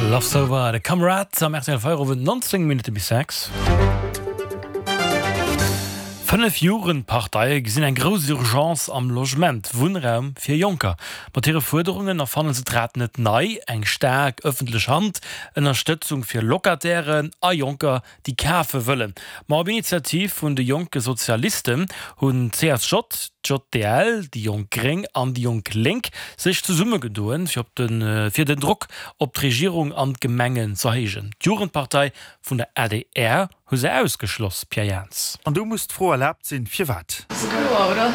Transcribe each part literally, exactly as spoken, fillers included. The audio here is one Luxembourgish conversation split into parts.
Love's Over, de Kamerad am R T L Feierowend, nonzéng Minutte bis sechs. Fënnef Jugendparteie gesinn eng grouss Urgence am Logement, Wunnraum fir Jonker. Mat hire Fuerderungen erfanne se d'Rad net nei, eng staark ëffentlech Hand, Ënnerstëtzung fir Locatairen a Jonker, déi kafe wëllen. Ma op Initiativ vun de Jonke Sozialisten hunn d'C S J, d'J D L, déi Jonk Gréng an déi Jonk Lénk sech zesummegedoen, fir op den, fir den Drock op d'Regierung an d'Gemengen z'erhéijen. D'Jugendpartei vun der A D R hu se ausgeschloss, Pierre Jans. An do muss d'Fro erlaabt sinn, firwat? Ass kloer, oder?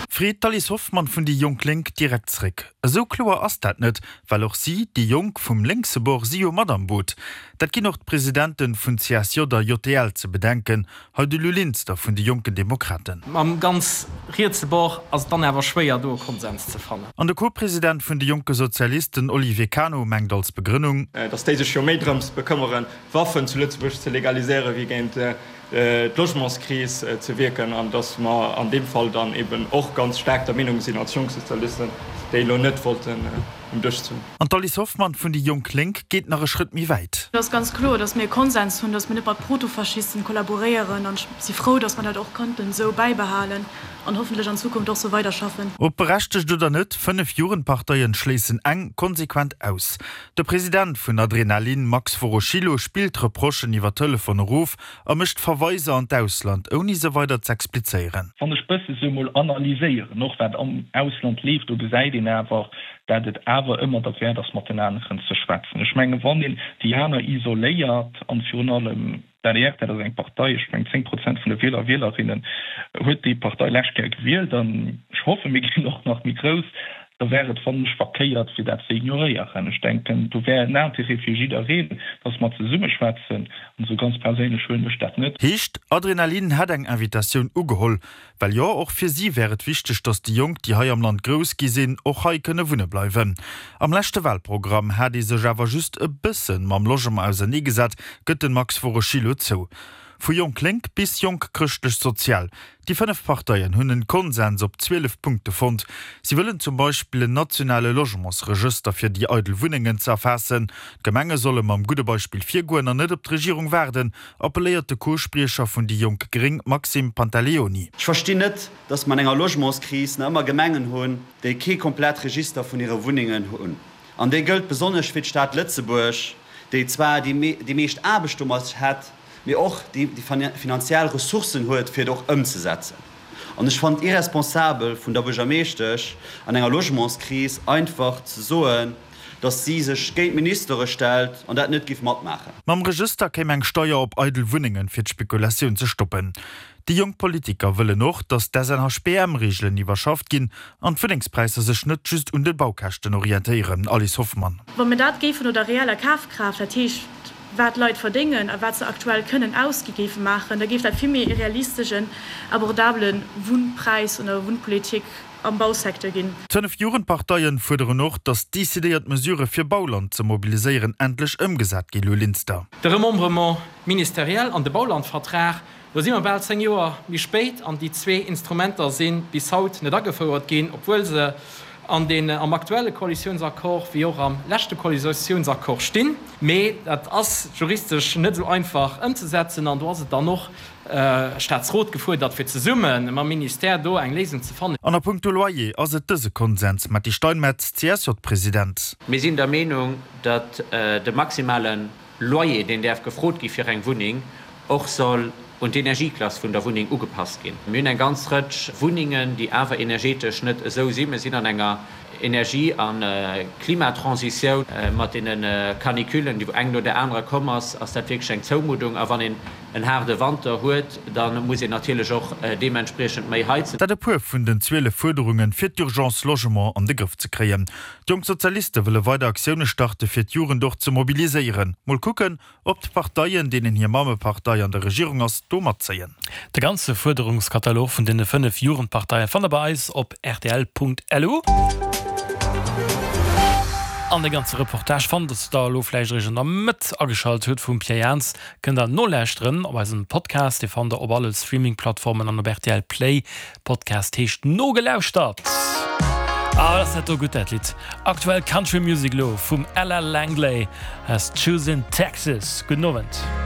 Freet d'Alice Hoffmann vun déi Jonk Lénk direkt zréck. Esou kloer ass dat net, well och si, déi Jonk vum lénkse Bord, si jo mat am Boot. Dat ginn och d'Presidenten vun C S J a J D L ze bedenken, hei de Lou Linster vun de Jonken Demokraten. Mam ganz rietse Bord ass et dann awer schwéier do e Konsens ze fannen. An de Co-President vun de Jonke Sozialisten Olivier Cano mengt als Begrënnung, datt déi sech jo méi drëms bekëmmeren, Waffen zu Lëtzebuerg ze legaliséieren, wéi géint d'Logementskris ze wierken, an datt mer an deem Fall dann eben och ganz staark der Meenung sinn als Jonk Sozialisten, déi elo net wollten um Dësch ze hunn. An d'Alice Hoffmann vun déi Jonk Lénk geet nach e Schrëtt méi wäit. Et ass ganz kloer, datt mir e Konsens hunn, datt mir net mat Protofaschisten kollaboréieren, an ech si frou, datt mer dat och konnten esou bäibehalen an hoffentlech an Zukunft och sou weiderschaffen. Ob berechtegt oder net, fënnef Jugendparteien schléissen eng konsequent aus. De President vun ADRenalin, Max Woroszylo, spillt d'Reprochen iwwer Telefon erof a mécht Verweiser an d'Ausland, ouni se weider z'explizéieren. Wann ech bësse sou mol analyséieren, och wat am Ausland leeft, do gesäit een awer, dat et awer ëmmer derwäert ass, mat den aneren ze schwätzen. Ech mengen, wann een déi aner isoléiert, an virun allem d'A D R, dat ass eng Partei, ech mengen zéng Prozent vun de Wieler a Wielerinnen huet déi Partei lescht Kéier gewielt, an ech hoffen, mir ginn och nach méi grouss, da wär et, fannen ech, verkéiert fir dat ze ignoréieren. Ech denken, do wär en Intérêt fir jiddereen, datt mer zesumme schwätzen, an esou ganz perséinlech huelen ech dat net. Heescht, ADRenalin hätt eng Invitatioun ugeholl, well jo, och fir si wär et wichteg, datt déi Jonk, déi hei am Land grouss gi sinn, och hei kënne wunne bleiwen. Am leschte Wahlprogramm hat ee sech awer just e bëssen mam Logement auserneegesat, gëtt den Max Woroszylo zou. Vu Jonk Lénk bis Jonk Chrëschtlech Sozial, déi fënnef Parteien hunn en Konsens op zwielef Punkte fonnt. Si wëllen zum Beispill en nationale Logementsregëster fir déi eidel Wunnengen ze erfaassen. D'Gemenge solle mam gudde Beispill virgoen an net op d'Regierung waarden, appelléiert de Co-Spriecher vun déi Jonk Gréng Maxime Pantaleoni. Ech verstinn net, datt mer an enger Logementskris nach ëmmer Gemengen hunn, déi kee komplett Register vun hire Wunnengen hunn. An dee gëllt besonnesch fir d'Stad Lëtzebuerg, déi zwar déi meescht Aarbecht domat hätt, mee och déi finanziell Ressourcen huet, fir et och ëmzesetzen. An ech fannen et irresponsabel vun der Buergermeeschtesch, an enger Logementskris einfach ze soen, datt si sech géint d'Ministere stellt an dat net giff matmaachen. Mam Regëster kéim eng Steier op eidel Wunnengen, fir d'Spekulatioun ze stoppen. Déi jonk Politiker wëllen och, datt d'S N H B M-Reegelen iwwerschafft ginn an d'Wunnengspräisser sech net just un de Baukäschten orientéieren. Alice Hoffmann. Wa mir dat géifen no der reeller Kafkraaft, dat heescht wat d'Leit verdéngen a wat se aktuell kënnen ausgi géife maachen, da géif dat vill méi e realisteschen, abordabele Wunnpräis oder Wunnpolitik am Bausecteur ginn. D'fënnef Jugendparteien fuerderen och, datt decidéiert Mesurë fir Bauland ze mobiliséieren endlech ëmgesat ginn. Lou Linster. De Remembrement ministériel an de Baulandvertrag, do si mer bal zéng Joer méi spéit an déi zwee Instrumenter si bis haut net agefouert ginn, obwuel se an den am aktuelle Koalitiounsaccord wéi och am leschte Koalitiounsaccord stinn. Mee dat ass juristesch net esou einfach ëmzesetzen an do ass et dann och Staatsrot gefuerdert, fir zesumme mam Ministère do eng Léisung ze fannen. An a punkto Loyer ass et dëse Konsens, Metty Steinmetz, C S J-President. Mir sinn der Meenung, datt de maximale Loyer, deen däerf gefrot gi fir eng Wunneng, och soll un d'Energieklass vun der Wunneng ugepasst ginn. Mir hunn eng ganz Rëtsch Wunnengen, déi awer energetesch net esou sinn. Mir sinn an enger Energie a Klimatransitioun. Mat deene Canicullen, déi wou eng no där anerer komm ass, ass dat wierklech eng Zoumuddung. A wann een en haarde Wanter huet, da muss een natierlech och deementspriechend méi heizen. Dat e puer vun den zwielef Fuerderungen, fir d'Urgence Logement an de Grëff ze kréien. D'Jonk Sozialiste wëlle weider Aktioune starte fir d'Jugend och ze mobiliséieren. Mol kucken, ob d'Parteien, deenen hir Mammepartei an der Regierung ass, do matzéien. De ganze Fuerderungskatalog vun deene fënnef Jugendparteie fannt der bei eis op R T L Punkt L U. An de ganze Reportage fannt der elo vläicht eréischt an der Mëtt ageschalt hutt vum Pierre Jans, kënnt der nolauschteren op eisem Podcast. Dee fannt der op alle Streaming-Plattformen an op R T L Play. Podcast heescht Nogelauschtert. Ah, ass dat do gutt dat Lidd. Aktuell Country Music lo vum Ella Langley aus Choosing Texas. Gudden Owend.